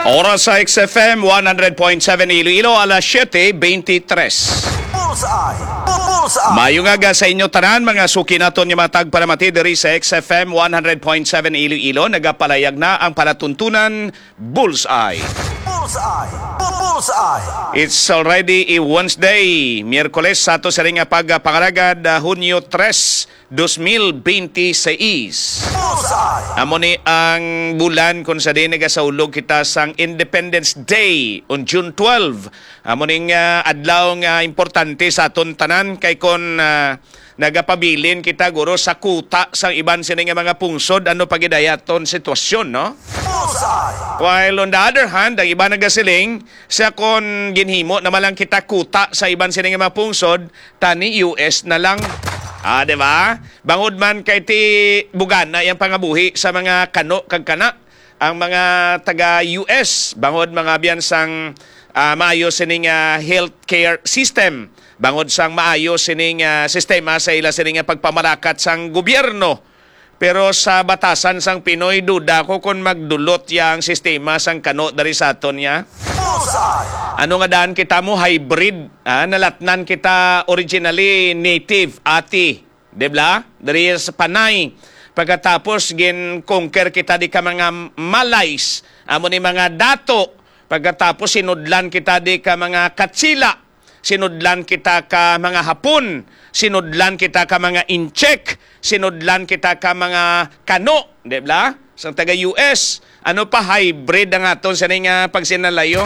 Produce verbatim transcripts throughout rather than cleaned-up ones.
Oras sa X F M one hundred point seven Iloilo, alas siete veintitrés. Bullseye! Bu- Bullseye! Maayong aga sa inyo tanan, mga suki naton nga mga tagpalamati diri sa X F M one hundred point seven Iloilo. Nagapalayag na ang palatuntunan Bullseye. Bullseye! Bu- Bullseye! It's already a Wednesday, Miyerkules sa ato sa ring pagpangalagad, ah, Hunyo tres, dos mil benti seis. Bullseye! Amo ni ang bulan kung sa diin nagasaulog kita sang Independence Day on June twelve. Amo ning, ah, adlaw nga importante sa aton tanan kay kon, ah, nagapabilin kita, guro, sa kuta sang iban sini nga mga pungsod, ano pa gid ay aton sitwasyon, no? Bullseye! While on the other hand, ang iban nagasiling, sa kon ginhimo naman lang kita kuta sa iban sini nga mga pungsod, tani U S na lang. Ah, di ba? Bangod man kay ti bugana yang pangabuhi sa mga kano kag kana, ang mga taga U S, bangod mga biyan sang, ah, maayo sining, ah, healthcare system, bangod sang maayo sining, ah, sistema sa ila sining, ah, pagpamarakat sang gobyerno. Pero sa batasan sang Pinoy, duda ko kon magdulot yang sistema sang kano dari sa aton niya. Bullseye! Ano nga daan kita mo hybrid, ah, nalatnan kita originally native, ati, di ba? Diri sa Panay. Pagkatapos gin-conquer kita di ka mga Malays, amo ni mga Dato. Pagkatapos sinudlan kita di ka mga Katsila, sinudlan kita ka mga Hapon, sinudlan kita ka mga Intsik, sinudlan kita ka mga Kano, di ba? Sang taga U S, ano pa, hybrid ang aton sa nga pagsinalayo.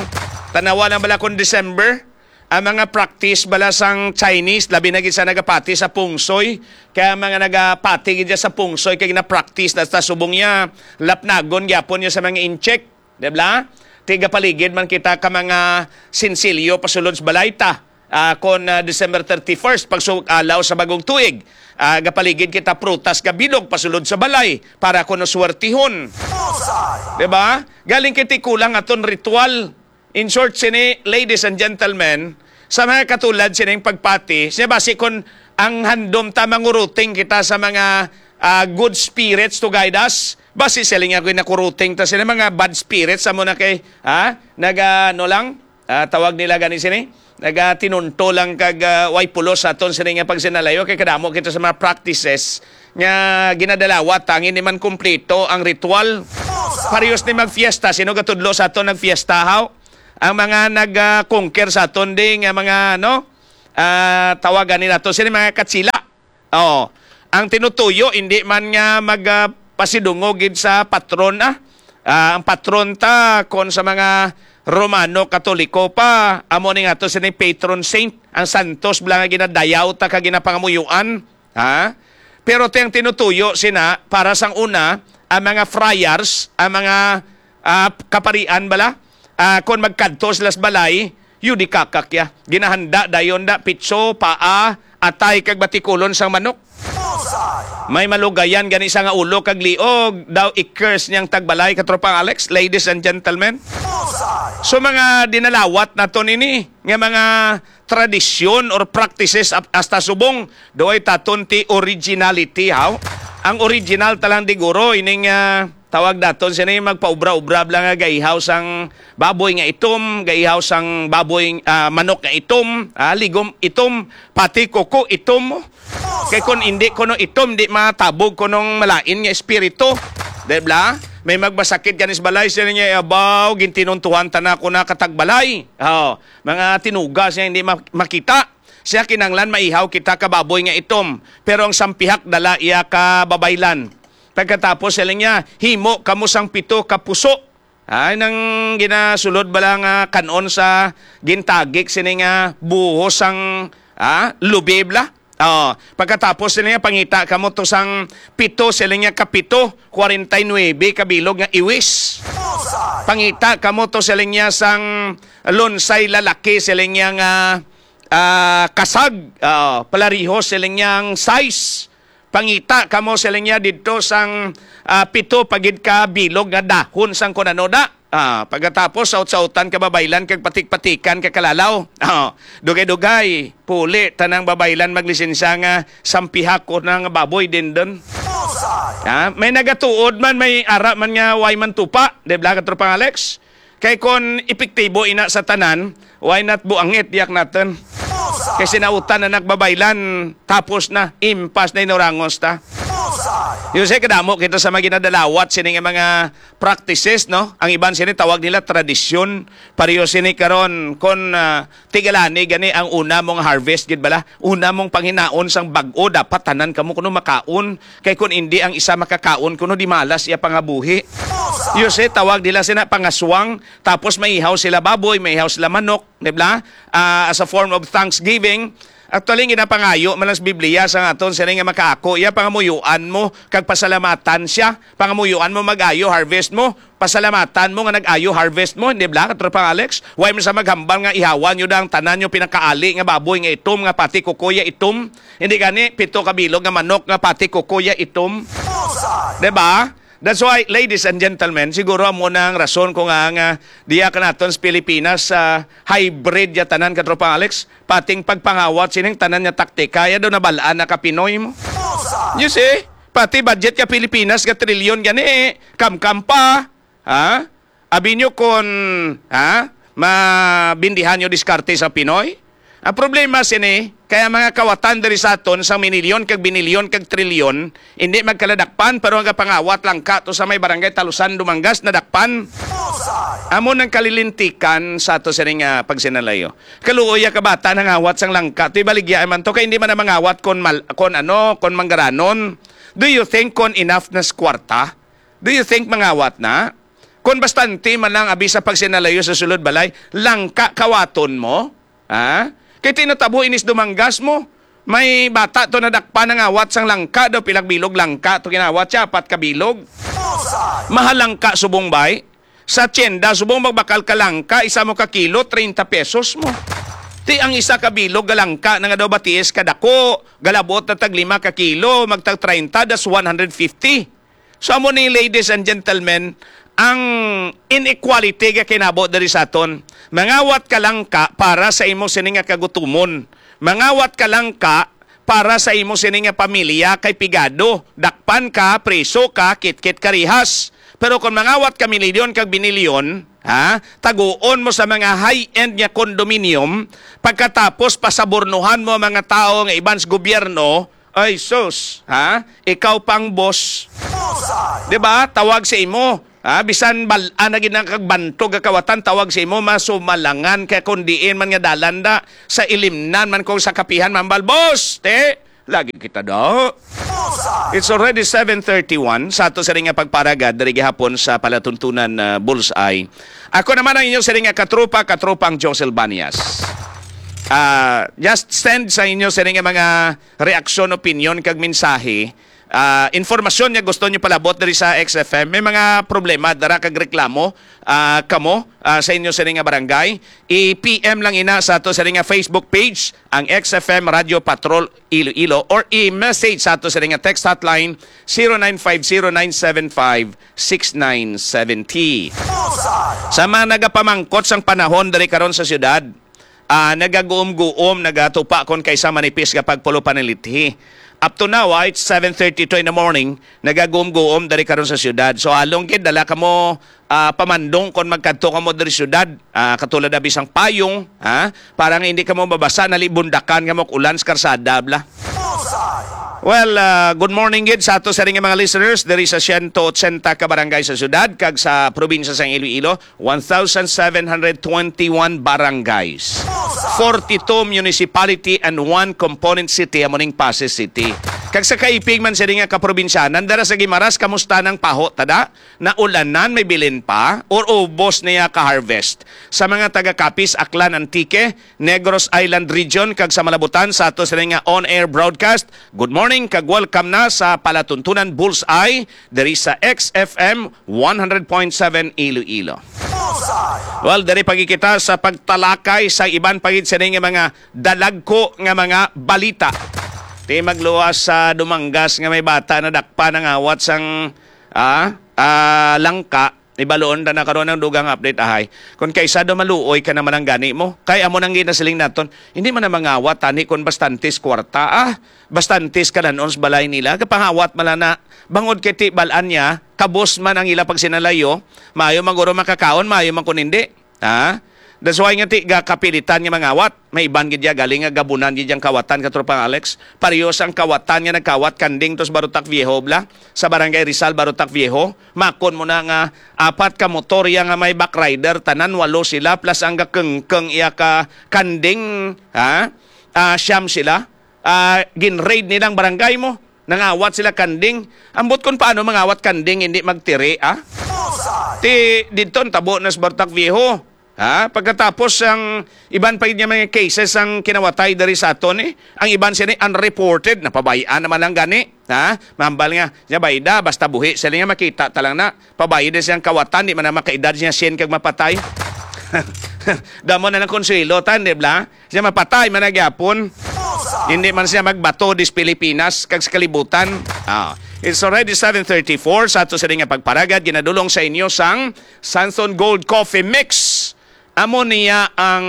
Tanawa lang bala kung December, ang mga practice bala sang Chinese, labi na gid sa nagapati sa Pungsoy, kaya mga nagapati gid sa Pungsoy kay na-practice na sa subong niya, lapnagon gyapon niya sa mga Intsik. Di ba? Tigapaligid man kita ka mga sinsilyo pasulod sa balay ta. Ah, kon, ah, December thirty-first, pagsug-alaw sa bagong tuig, ah, gapaligid kita prutas nga bilog pasulod sa balay para kuno swertihon. Bullseye! Di ba? Galing kiti kulang aton ritual. In short, sini, ladies and gentlemen, sa mga katulad sining pagpati, siya basi kon ang handom ta manguruting kita sa mga, ah, good spirits to guide us, basi sila nga ginakuruting ta sila mga bad spirits, amo na kay, ha? Naga, ano lang, ah, tawag nila gani sini? Nagatinunto lang kag, ah, way pulos sa aton sini nga pagsinalayo kay kadamo kita sa mga practices nga ginadalawat, tangin ni man kumpleto ang ritual. Parehas ni magfiesta, sino gatudlo sa aton nagfiesta, haw? Ang mga nag, ah, conquer sa aton di nga mga, ano, ah, tawagan ni nato sini mga Katsila. Oh, ang tinutuyo hindi man nga mag, ah, pasidungog gid sa patron, ah. Ah, ang patron ta kon sa mga Romano Katoliko pa, amo ni nga to sini patron saint, ang santos bala nga ginadayaw ta ka ginapangamuyuan, ha? Pero ti ang tinutuyo sina para sang una, ang mga friars, ang mga, ah, kaparian bala, ah, kon magkadto sila sa balay, yun di kakakya. Ginahanda dayon da, pitso, paa, atay kag batikulon sang manok. Bullseye! May malugayan gani sa nga ulo kag liog, daw i-curse niyang tagbalay, katropang Alex, ladies and gentlemen. Bullseye! So mga dinalawat naton ini nga mga tradisyon or practices ap-, hasta subong, doay taton ti originality, haw? Ang original talang diguro ining, ah, tawag daton sini magpaubra-ubra lang nga gaihaw sang baboy nga itom, gaihaw sang baboy, ah, manok nga itom, ah, ligom itom, pati kuko itom. Kay kun indi kuno itom, di matabog kunong malain nga espiritu. Di bala? May magmasakit gani sa balay, sila niya, "Abaw, gintinuntuhan ta na ako na katagbalay." Oh, mga tinugas niya hindi ma-, makita. Siya kinanglan maihaw kita ka baboy nga itom, pero ang sampihak dala iya ka babaylan. Pagkatapos, siling niya, "Himo kamo sang pito ka puso." Ay, nang ginasulod bala nga kan-on sa gintagik sini nga buhos sang, ah, lubi bala. Oh, pagkatapos sini nga, "Pangita kamo to sang pito," siling niya, "kapito, kwarenta y nuebe ka bilog nga iwis. Pangita kamo to," siling niya, "sang lunsay lalaki," siling niya, "nga, ah, kasag." Oh, palarihos siling niya ang size. "Pangita kamo," siling niya, "didto sang, ah, pito pa gid ka bilog nga dahon sang kun ano da." Ah, pagkatapos, saut-sautan ka babaylan kag patik-patikan ka kalalaw. Ah, dugay-dugay, puli tanang babaylan maglisensya nga sampihak ko na nga baboy din dun. Ah, may nagatuod man, may ara man nga way man tupa, di ba, Katropang Alex? Kay kon epektibo ina sa tanan, why not buangit diak naton? Kay sinautan na nagbabaylan, tapos na, impas na inurangos ta. Yun siya, kadamo kita sa mga ginadalawat sini nga mga practices, no? Ang iban sini tawag nila tradisyon. Pareho sini karon, kon, ah, tigalani gani ang una mong harvest, gid bala? Una mong panghinaon sang bag-o, dapat tanan kamo kuno makaon. Kay kun indi ang isa makakaon, kuno di malas iya pangabuhi. You see, tawag nila sina pangaswang, tapos maihaw sila baboy, maihaw sila manok, di ba? Ah, as a form of thanksgiving. Actually, ginapangayo man lang sa Biblia sa aton, sila nga makaako, iya pangamuyuan mo, kag pasalamatan siya. Pangamuyuan mo mag-ayo harvest mo, pasalamatan mo nga nag-ayo harvest mo, di ba, Katropang Alex? Why mo sa maghambal nga ihawan nyo da ang tanan nyo pinakaali nga baboy nga itom, nga pati kukuya itom? Hindi gani, pito ka bilog nga manok nga pati kukuya itom? Di ba? That's why, ladies and gentlemen, siguro amo na ang rason ko nga, nga diya ka naton sa Pilipinas, sa hybrid ya tanan, Katropang Alex, pating pagpangawat sining tanan nga taktika, ya daw nabalaan na ka Pinoy mo. You see? Pati budget ka Pilipinas ka trilyon gani, kamkam pa. Ha? Abi nyo kon, ha? Mabindihan nyo diskarte sa Pinoy? Ang problema sini, kaya mga kawatan diri sa aton sa minilyon kag binilyon kag trilyon, hindi magkaladakpan, pero ang kapangawat lang ka to sa may barangay Talusan, Dumangas, nadakpan. Amo nang kalilintikan sa ato sini nga pagsinalayo. Kaluoy ya ka bata nangawat sang langka, to ibaligya man to, kay hindi man na mangawat kon mal-, kon ano, kon manggaranon. Do you think kon enough na sa kwarta? Do you think mangawat na? Kon bastante man lang abi sa pagsinalayo sa sulod balay, langka kawaton mo? Ha? Kay tinatabo inis Dumangas mo. May bata to nadakpan nangawat sang langka daw, pilag bilog langka to ginawat siya, apat ka bilog. Mahal langka subong bay. Sa tienda, subong magbakal ka langka, isa mo ka kilo, treinta pesos mo. Ti ang isa ka bilog nga langka na nga daw batiis ka dako, galabot na tag lima ka kilo, magtag treinta, das one hundred fifty. So, amo ni, ladies and gentlemen, ang inequality nga kinabo diri sa aton. Mangawat ka langka para sa imo sini nga kagutumon. Mangawat ka langka para sa imo sini nga pamilya kay pigado. Dakpan ka, preso ka, kitkit ka rihas. Pero kung mangawat ka milyon kag binilyon, ha, taguon mo sa mga high-end nga condominium, pagkatapos pasabornohan mo ang mga tawo nga iban sa gobyerno, ay sus, ha? Ikaw pang boss. Di ba? Tawag sa imo. Ha? Bisan bal-an na gid ang kagbantog nga kawatan, tawag sa imo, masumalangan ka kung diin man nga dalan da, sa ilimnan man kung sa kapihan, mambal, "Boss, te, lagi kita do." It's already seven thirty-one sa ato sa nga pagparagad diri gihapon sa palatuntunan, ah, Bullseye. Ako naman ang inyo sa nga katropa, katropang Josel Banias. Ah, just send sa inyo sa nga mga reaksyon, opinyon, kag mensahe, ah, informasyon nga gusto nyo palabot diri sa X F M, may mga problema, dara kag reklamo, ah, kamo, ah, sa inyo sini nga barangay, i-P M lang ina sa ato sini nga Facebook page, ang X F M Radio Patrol Iloilo, or i-message sa ato sini nga text hotline, zero nine five zero nine seven five six nine seven zero. Sa mga nagapamangkot sang panahon diri karon sa siyudad, ah, nagaguom-guom, nagatupa kon kaysa manipis nga pagpulo panilithi. Up to now, ah, it's seven thirty-two in the morning, nagaguom-guom diri karon sa siyudad. So, halong gid, dala kamo, ah, pamandong kon magkadto kamo diri siyudad, ah, katulad na bisang payong, ha? Para nga hindi kamo mabasa, nalibundakan kamo og ulan sa karsada, bla. Well, ah, good morning gid sa ato sa ring mga listeners diri sa siyento otsenta ka barangay sa siyudad kag sa probinsya sang Iloilo. One thousand seven hundred twenty-one barangays, forty-two municipality, and one component city, amo ning Passi City. Kag sa kaipig man sini nga kaprobinsyanan, dara sa Guimaras, kamusta nang paho, tada? Naulanan, may bilin pa, or ubos niya ka-harvest? Sa mga taga Capiz, Aklan, Antique, Negros Island Region, kag sa Malabutan, sa ato sini nga on-air broadcast, good morning, kag welcome na sa Palatuntunan Bullseye, diri sa X F M one hundred point seven Iloilo. Well, diri pa gid kita sa pagtalakay sa iban pa gid sini nga mga dalagko nga mga balita. Ti magluwas sa Dumangas nga may bata nadakpa nangawat sang, ah, ah, langka. Ibaluon ta na karon ang dugang update, ahay. Kung kaysa do maluoy ka naman ang gani mo, kay amo nang ginasiling naton, hindi man na mangawat tani kung bastantes kwarta, ah, bastantes kalanon sa balay nila, kapangawat man lang na, bangod kay ti bal-an niya, kabos man ang ila pagsinalayo, maayo man guro makakaon, maayo man kun hindi. Ha? That's why nga ti gakapilitan nga mangawat. May iban gid ya galing nga gabunan gid yang kawatan, Katropang Alex. Pareho sang kawatan nga nagkawat kanding to sa Barotac Viejo, bla, sa Barangay Rizal, Barotac Viejo. Makon mo na nga apat ka motor ya nga may backrider, tanan walo sila, plus ang gakengkeng iya ka kanding, ha? Ah, siyam sila. Ah, gin-raid nilang barangay mo. Nangawat sila kanding. Ambot kung paano mangawat kanding, hindi magtiri, ah? Ti didto ang tabo na sa Barotac Viejo. Ha? Pagkatapos ang iban pa gid nga mga cases ang kinawatay diri sa aton, eh. Ang iban sini unreported, napabay-an naman lang gani. Ha? Mambal nga, nya bayda, basta buhi sila nga makita ta lang na. Pabay din siyang kawatan, di man na makaedad siya sien kag mapatay. Damo na ng konsuelo tan, di ba? Siya mapatay man na gyapon. Hindi man siya magbato dis Pilipinas kag sa kalibutan. Ah, it's already seven thirty-four sa ato sini nga pagparagad, ginadulong sa inyo sang Sanson Gold Coffee Mix. Amo niya ang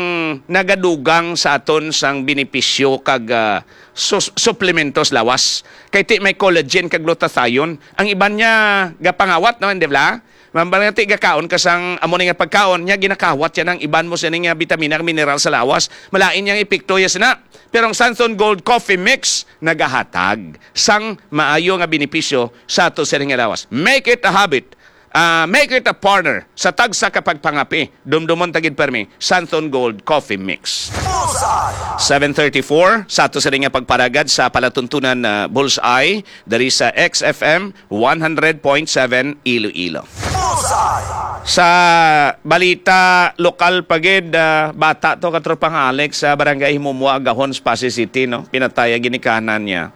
nagadugang sa aton sang benepisyo kag, ah, sus- suplementos lawas. Kay ti may collagen kag glutathione. Ang iban niya gapangawat, no, hindi bla? Mambal nga ti gakaon ka sang amo ni nga pagkaon, niya ginakawat yan ang iban mo sini nga bitamina kag mineral sa lawas. Malain yang epekto ya sina. Pero ang Sanson Gold Coffee Mix nagahatag sang maayo nga benepisyo sa ato sini nga lawas. Make it a habit. Ah, make it a partner sa tagsa ka pagpangapi. Dumdumon ta gid permi, Santon Gold Coffee Mix. Seven thirty-four sa ato sini nga pagparagad sa palatuntunan, ah, Bullseye diri sa X F M one hundred point seven Iloilo. Sa balita lokal pa gid, ah, bata to, Katropang Alex, sa Barangay Himumua, Gahon, Passi City, no? Pinatay ang ginikanan niya.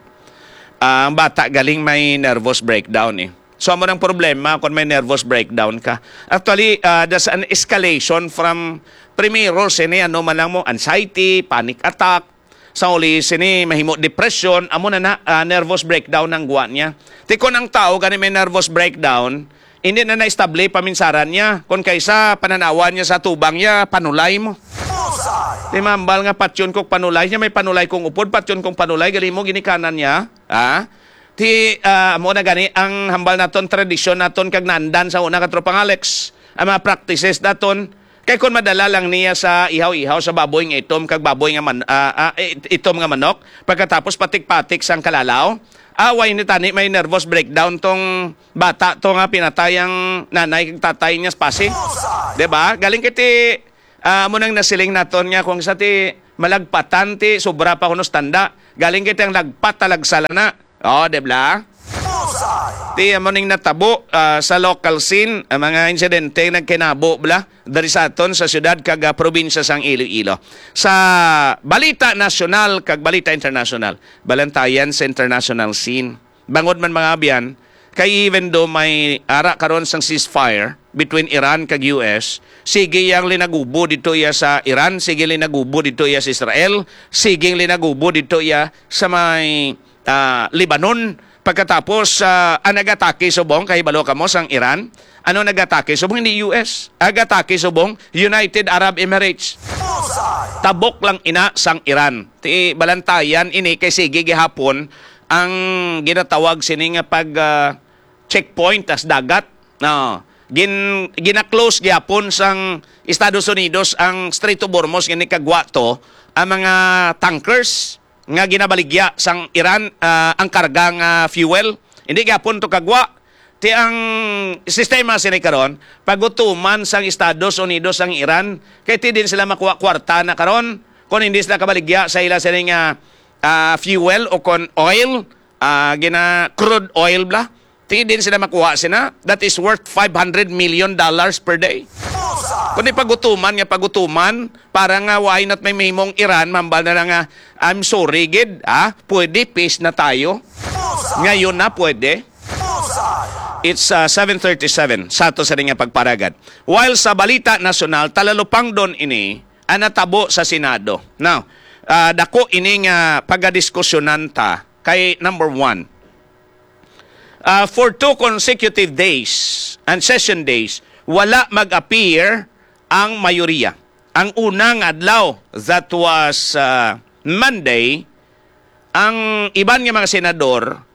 Ah, ang bata galing may nervous breakdown, eh. So, amo nang problema kung may nervous breakdown ka. Actually, ah, there's an escalation from primero sini, ano man lang mo, anxiety, panic attack. Sa uli sini, mahimo depression, amo na na, ah, nervous breakdown ang guwa niya. Ti kon ang tao gani may nervous breakdown, hindi na naestable paminsaran niya. Kung kaysa pananawan niya sa tubang niya, panulay mo. Ti mambal nga patyon kog panulay niya, may panulay kong upod, patyon kong panulay, gali mo ginikanan niya. Ah? Ti, ah, amo na gani ang hambal naton, tradisyon naton kag naandan sa una, Katropang Alex. Ang mga practices naton, kay kon madala lang niya sa ihaw-ihaw sa baboy nga itom kag baboy nga man-, ah, ah, it-, itom nga manok, pagkatapos patik-patik sang kalalaw, away ni tani may nervous breakdown tong bata to nga pinatay ang nanay kag tatay niya sa Passi. Di ba? Galing kay ti, ah, amo nang nasiling naton nga kung sa ti malagpatan ti sobra pa kuno sa tanda. Galing kay ti ang lagpat talagsa lang na. Oh, di ba? Ti amo ning natabo, ah, sa local scene, ang mga insidente nagkinabo bla diri sa aton sa siyudad kag, ah, probinsya sang Iloilo. Sa balita nasyonal kag balita internasyonal, balantayan sa international scene. Bangod man, mga abyan, kay even though may ara karon sang ceasefire between Iran kag U S, sige yang linagubo dito iya sa Iran, sige linagubo dito iya sa Israel, sige linagubo dito iya sa may, ah, Lebanon. Pagkatapos, ah, ang nagatake subong, kahibalo kamo sang Iran, ano nagatake subong? Hindi U S. Agatake subong United Arab Emirates. Tabok lang ina sang Iran. Ti balantayan ini kay sige gihapon ang ginatawag sini nga pag, ah, checkpoint as dagat. No. Gin-, gina-close gyapon sang Estados Unidos ang Strait of Hormuz nga ni kagwa to ang mga tankers nga ginabaligya sang Iran, ah, ang karga nga fuel. Hindi gyapon to kagwa. Ti ang sistema sini karon, pagutuman sang Estados Unidos ang Iran, kay ti din sila makuha kwarta na karon kung hindi sila kabaligya sa ila sini nga, ah, fuel o kon oil, ah, gina crude oil bla. Ti din sila makuha sina, that is worth five hundred million dollars per day. Kundi pagutuman nga pagutuman, para nga why not may mahimong Iran, mambal na lang nga, "I'm sorry gid, ah, pwede peace na tayo." Ngayon na pwede. It's, uh, seven thirty-seven sa ato sa nga pagparagad. While sa balita nasyonal, talalupangdon ini ang natabo sa Senado. Now, ah, dako ini nga pagadiskusyonan ta kay number one, ah, for two consecutive days and session days, wala mag-appear ang mayoriya. Ang una nga adlaw, that was, ah, Monday, ang iban nga mga senador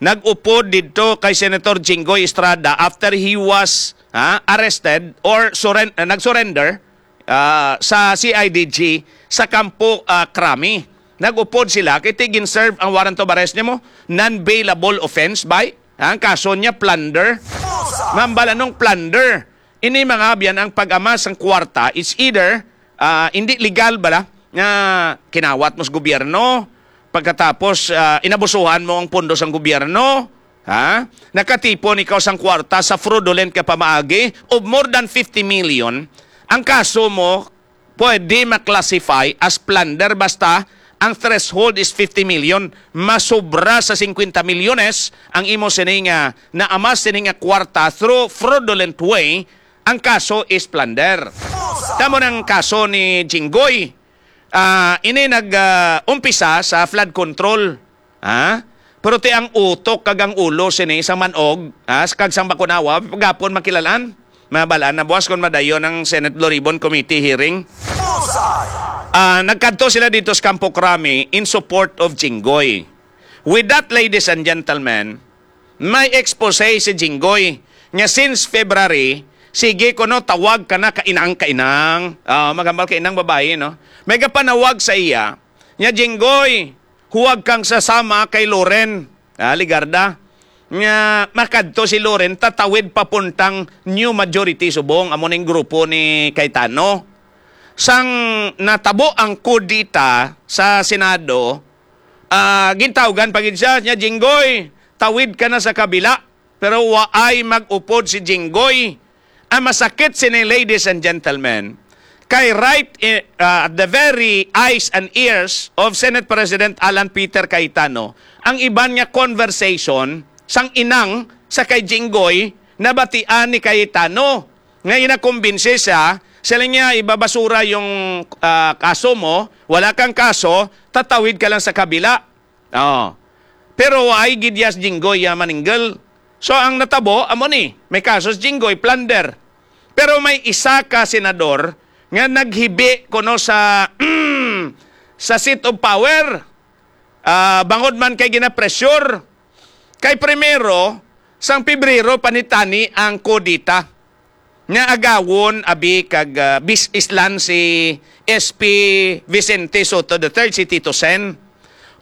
nag-upod didto kay Senator Jinggoy Estrada after he was, ha, arrested or surren-, uh, nag-surrender, ah, sa C I D G sa Campo, ah, Crame. Nag-upod sila kay ti gin-serve ang warrant of arrest nimo, non-bailable offense by, ha, ang kaso niya plunder. Mambal, anong plunder? Ini mga abyan ang pag-amas sang kwarta, it's either, ah, hindi legal bala nga kinawat mo sa gobyerno, pagkatapos, ah, inabusuhan mo ang pondo sang gobyerno, ha? Nakatipon ikaw sang kwarta sa fraudulent ka pamaagi of more than fifty million, ang kaso mo pwede ma-classify as plunder basta ang threshold is fifty million. Masobra sa fifty milyones ang imo sini nga naamas sini nga kwarta through fraudulent way, ang kaso is plunder. Tamo ng kaso ni Jinggoy. Ah, ini nag, ah, umpisa sa flood control. Ha? Pero ti ang utok kag ang ulo sini sang manog, ha, kag sang bakunawa, pagapon makilalaan. Mabalaan na buwas kon madayon ang Senate Blue Ribbon Committee hearing. Ah, nagkadto sila dito sa Campo Crame in support of Jinggoy. With that, ladies and gentlemen, may expose si Jinggoy nga since February, sige kuno tawag ka na kainang-kainang. Ah, magambal kainang babayi, no? May gapanawag sa iya nga, "Jinggoy, huwag kang sasama kay Loren, ah, Legarda." Nga makadto si Loren, tatawid papuntang New Majority Subong, amo ning grupo ni Cayetano. Sang natabo ang kudeta sa Senado, ah, gintawgan pa gid siya, niya, "Jinggoy, tawid ka na sa kabila." Pero waay mag-upod si Jinggoy. Ang masakit sini, ladies and gentlemen, kay right i-, ah, at the very eyes and ears of Senate President Alan Peter Cayetano, ang iban nga conversation sang inang sa kay Jinggoy nabatian ni Cayetano nga inakumbinsi siya, sila niya, "Ibabasura yung, ah, kaso mo, wala kang kaso, tatawid ka lang sa kabila." Oh. Pero ay gid ya si Jinggoy ya maninggal. So ang natabo amo ni, may kaso si Jinggoy, plunder. Pero may isa ka senador nga naghibi kuno sa sa seat of power. Ah, bangod man kay ginapressure. Kay primero, sang Pebrero panitani ang kudeta nga agawon abi kag, ah, bis-, islan si S P Vicente Sotto the third, si Tito Sen.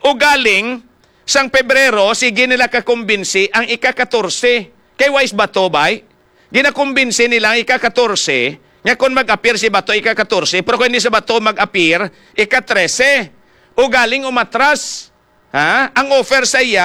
Ugaling, sang Pebrero, sige nila kakumbinsi ang ika-katorse. Kay wais bato, bay? Ginakumbinsi nila ang ika-katorse nga kung mag-appear si Bato ika-katorse, pero kung hindi si Bato mag-appear, ika-trese. Ugaling umatras. Ha? Ang offer sa iya,